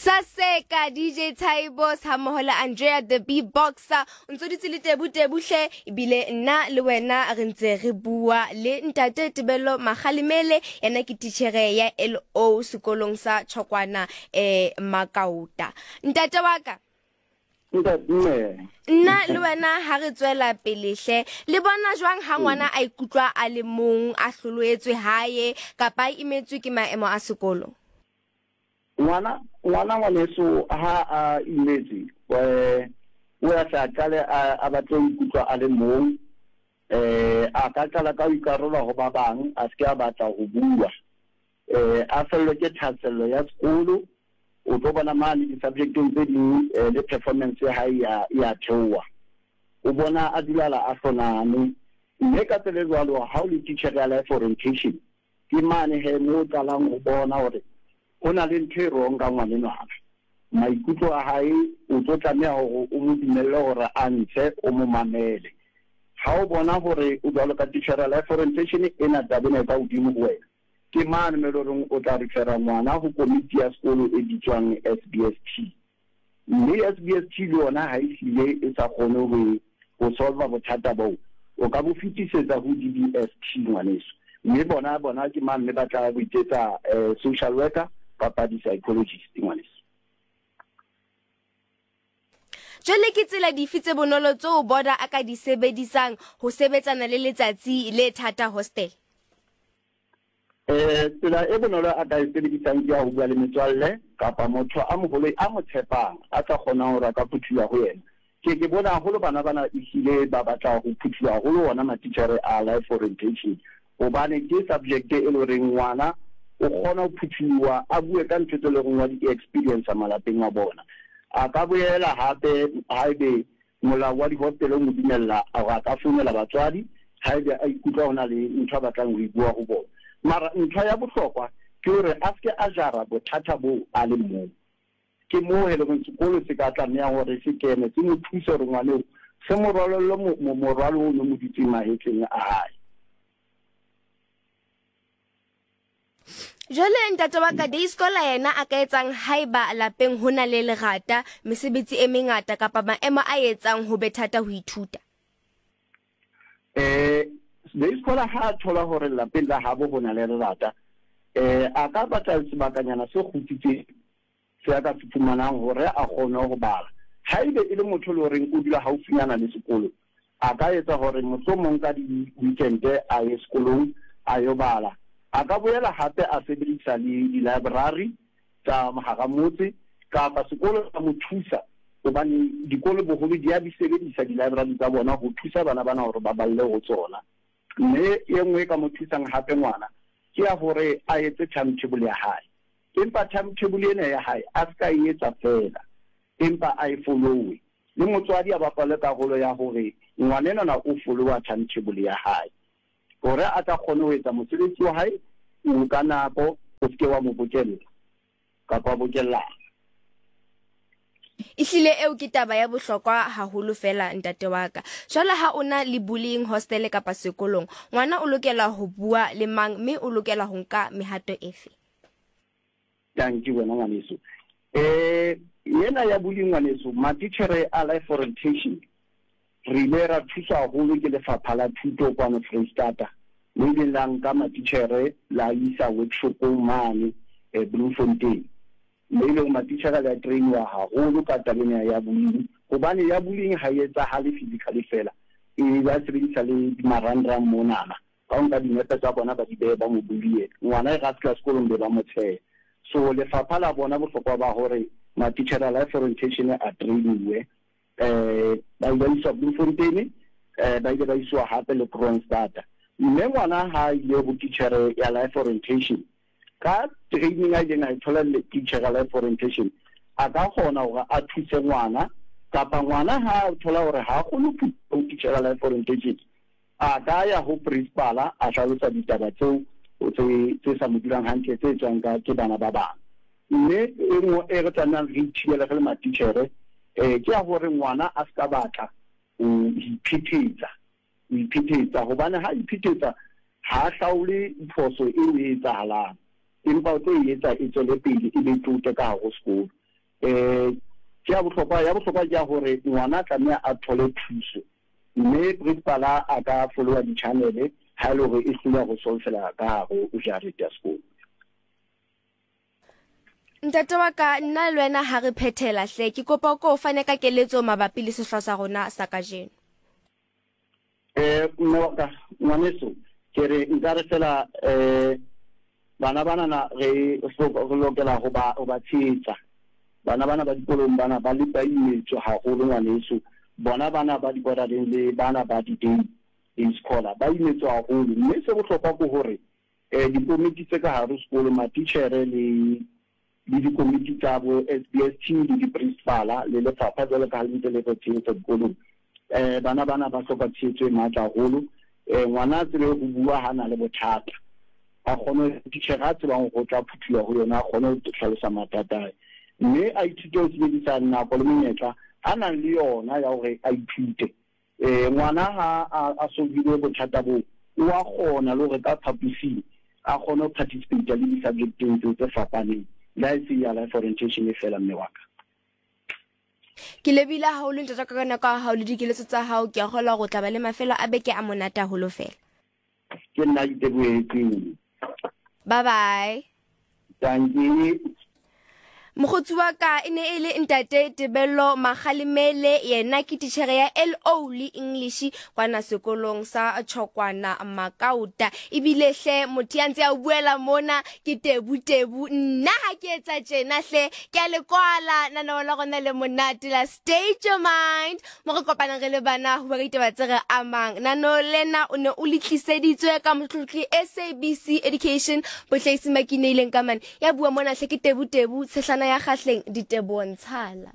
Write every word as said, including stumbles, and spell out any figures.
Saseka D J Tybos hammoho le Andrea the Beatboxer. O ntso dutse le Tebu Tebuhle, ebile nna le wena re ntse re bua le ntate Tebello Makgalemele, yena ke titjhere ya L O sekolong sa Tshokwana eh Makauta. Ntate wa ka, Ntate. Nna le wena ha re tswela pele hle, le bona jwang ha ngwana a ikutlwa a le mong, a hloloetswe hae kapa a imetswe ke maemo a sekolo? Ngwana ngwana ngwaneso ha a imetse, eh o ya tla qale a a batle ho ikutlwa a le mong, eh a ka qala ka ho ikarola ho ba bang, a se ke a batla ho bua, eh a fellwe ke thahasello ya sekolo. O tlo bona mane di-subjecteng tse ding, eh, le performance ya hae ya ya theoha, o bona a dulala a hloname. Mme ka tsela e jwalo, ha o le teacher ya life orientation, ke mane he mo o qalang ho bona hore ho na le ntho e wrong ka ngwanenwana. Maikutlo a hae, o tlo tlameha hore o mo dumelle hore a ntshe, o mo mamele. Ha o bona hore o jwalo ka teacher ya life orientation, ena taba ena e ka hodimo ho wena, ke mane mo e le horeng o tla refera ngwana ho komiti ya sekolo e bitswang S B S T. Mme S B S T le yona ha e hlile e sa kgone ho ho solva bothata boo, o ka bo fetisetsa ho D B S T, ngwaneso. Mme bona bona ke mang, mme ba tla bo iketsa eh, social worker kapa di-psychologist, ngwaneso. Jwale ke tsela dife tse bonolo tseo boarder a ka di sebedisang ho sebetsana le letsatsi le thata hostel? Eh tsela e bonolo a ka e sebedisang ke ya ho bua le metswalle kapa motho a moholo a mo tshepang, a tla kgonang hore a ka phuthuwa ho yena. Ke ke bona haholo bana bana ehlile ba batla ho phuthuwa haholo ona matitjhere a life orientation, hobane ke subject e le horeng ngwana o kgona ho phuthuwa, a bue ka ntho tse leng wa di-experience malapeng a bona. A ka boela hape, haebe molao wa di-hostel o mo dumella, hore a ka founela batswadi haebe a ikutlwa ho na le ntho a batlang ho e bua ho bona. Mara ntho ya bohlokwa ke hore a seke a jara bothata boo a le mong. Ke moo e leng sekolo se ka tlameha hore se kene, se mo thuse hore ngwaneo se mo rwalelle morwalo o no mo dutseng mahetleng a hae. Jwale ntate wa ka, day scholar yena a ka etsang haeba lapeng ho na le lerata, mesebetsi e mengata kapa maemo a etsang ho be thata ho ithuta? eh day scholar ha a thola hore lapeng la habo ho na le lerata, eh a ka batla sebakanyana se kgutsitseng se a ka se fumanang hore a kgone ho bala. Haebe e le motho le horeng o dula haufinyana le sekolo, a ka etsa hore mohlomong ka di-weekend a ye sekolong a yo bala. A ka boela hape a sebedisa le di-library tsa hara motse, kapa sekolo sa mo thusa, hobane dikolo boholo di a di sebedisa di-library tsa bona ho thusa bana bana hore ba balle ho tsona. Mme e nngwe e ka mo thusang hape ngwana ke ya hore a etse timetable ya hae, empa timetable ena ya hae a se ka e etsa fela, empa a e followe. Le motswadi a bapale karolo ya hore ngwanenwana o followa timetable ya hae, hore a tla kgone ho etsa mosebetsi wa hae o ka nako, o seke wa mo bokella kapa bokellana. Ehlile eo ke taba ya bohlokwa haholo fela, ntate wa ka. Jwale ha o na le bullying hostel kapa sekolong, ngwana o lokela ho bua le mang, mme o lokela ho nka mehato efe? Tanki wena, ngwaneso. eh yena ya bullying, ngwaneso, matitjhere a life orientation re ile ra thuswa haholo ke lefapha la thuto kwano Freistata, le ileng la nka matitjhere la isa workshopong mane eh, Bloemfontein, mme e leng matitjhere le a trainiwa haholo ka taba ena ya bullying, hobane ya bullying ha e etsahale physically fela, e ba sebedisa le marangrang monana ka ho nka dinepe tsa bona, ba di behe, ba mo bully ngwana e ra fihla sekolong be ba mo tsheha. So lefapha la bona bohlokwa ba hore matitjhere a life orientation a trainiwe. eh ba ile ba iswa Bloemfontein, eh ba ile ba iswa hape le Kroonstad. Mme ngwana ha ile ho titjhere ya life orientation, ka training a ileng a e thola le teacher ya life orientation, a ka kgona hore a thuse ngwana. Kapa ngwana ha a thola hore ha a kgone ho teacher ya life orientation, a ka ya ho principal, a hlalosa ditaba tseo tse tse sa mo dulang hantle, tse tswang ka ke bana ba bang. Mme e nngwe e re tlamehang re ithibele re le matitjhere, eh ke ya hore ngwana a ska batla ho iphetetsa ho iphetetsa, hobane ha iphetetsa ha hlaole phoso eo e etsahalang, empa o tlo e etsa e tswele pele, e be tote ka hare ho sekolo. Eh ke ya bohlokwa, ya bohlokwa ke ya hore ngwana tlameha a thole thuso, mme principal a ka followa di-channel ha e le hore e hloleha ho solvela ka hare ho jarete ya sekolo. Ntate wa ka, nna le wena ha re phethela hle, ke kopa o ko fane ka keletso mabapi le sehlooho sa rona sa kajeno. Eh mme wa ka, ngwaneso, ke re nka re fela eh bana banana re re lokela ho ba ho ba tshehetsa. Bana bana ba dikolong bana ba le ba imetswe haholo ngwaneso. Bona bana ba di-boarding le bana ba di-day day scholar ba imetswe haholo. Mme se bohlokwa ke hore eh dikomiti tse ka hare ho sekolo, matitjhere le le dikomiti tsa bo S B S T le di-principal le lefapha jwalo ka ha le ntse le re tshehetsa dikolong. Eh bana bana ba hloka tshehetso e matla haholo. Eh ngwana a tsebe ho bua ha na le bothata, a kgone titjhere a tsebang ho tla phuthulla ho yona, a kgone ho hlalosa mathata a hae, mme a ithute ho sebedisa nako le menyetla a nang le yona ya hore a ithute. Eh ngwana ha a a solvile bothata boo, o a kgona le hore ka phaposing a kgone ho participate le di-subject-eng tseo tse fapaneng, le ha e se ya life orientation e fela, mme wa ka. Ke lebile haholo ntate ka nako ya hao le dikeletso tsa hao. Ke a kgolwa hore o tla ba le mafelo a beke a monate haholo fela. Ke nna itebohetseng. Bye bye. Dankie. Mokgotsi wa ka e ne e le ntate Tebello Makgalemele, yena ke titjhere ya L O le English kwana sekolong sa Tshokwana Makauta. Ebile hle motho ya ntse a buela mona ke Tebu Tebu. Nna ha ke etsa tjena hle ke a le kwala nanao la rona le monate la State Your Mind, mo re kopanang re le bana ho bua ka ditaba tse re amang. Nano lena o ne o le tliseditswe ka motlotli S A B C Education, Bohlahisi Makineileng ka mane. Ya bua mona hle ke Tebu Tebu, tshehlana ya kgahleng diteboho ntshala.